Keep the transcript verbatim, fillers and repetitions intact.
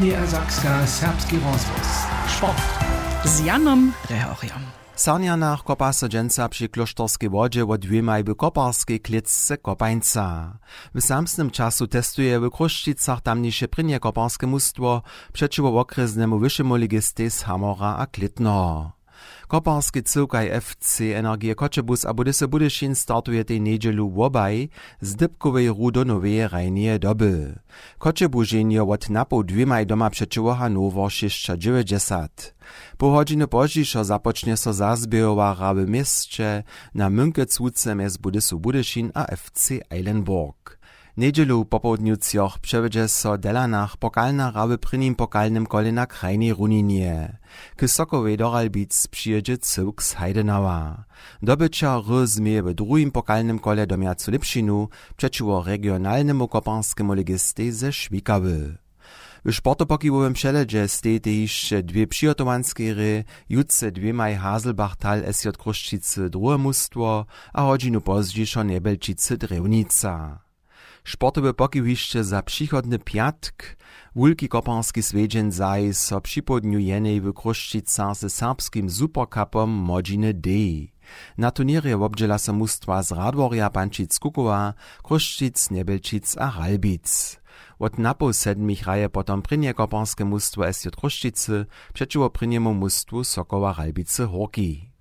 Niedersakska, serbski rozhłos. Sport. Z Janom Rehorjom. W Sarnjanach kopa so dźensa při klóšterskej wodźe wot dwěmaj w koparskej klětce kopańca. W samsnym času testuje w Chrósćicach tamniše prěnje koparske mustwo přećiwo wokrjesnemu wyšemu ligistej z Hamora a Klětneho. Koparski cyłkaj F C Energie Choćebuz a Budyšyn startuje tej njedźelu wobaj z dypkowej hru do noweje hrajneje doby. Choćebuženjo wot napoł dwěmaj doma přećiwo Hannower šěsćadźewjećdźesat. Poł hodźiny pozdźišo započnje so zazběhowa hra w měsće na mynkec łuce mjez Budysu Budyšin a F C Eilenburg. Njedźelu popołdnju třoch přewjedźe so w Delanach pokalna hra w prěnim pokalnym kole na krajnej runinje. K Sokowej do Ralbic přijědźe cyłk z Heidenauer. Dobyćer hry změje w druhim pokalnym kole domjacu lěpšinu přećiwo regionalnemu koparskemu ligistej ze Šwikawy. W sportopokiwowym přehledźe stejitej hišće dwě přihotowanskej hrě, jutře dwěmaj Haselbachtal S J Chrósćicy druhe mustwo a hodźinu pozdźišo Njebjelčicy Drjewnica. Sportowy pokiw hišće za přichodny pjatk. Wulki koparski swjedźeń zaji so připołdnju jenej w Chrósćicach ze serbskim Supercupom młodźiny D. Na turněrje wobdźěla so mustwa z Radworja Pančic Kukowa, Chrósćic, Njebjelčic a Ralbic. Wot napoł sedmich hraje potom prěnje koparske mustwo S J Chrósćicy přećiwo prěnjemu mustwu Sokoła Ralbicy Hórki.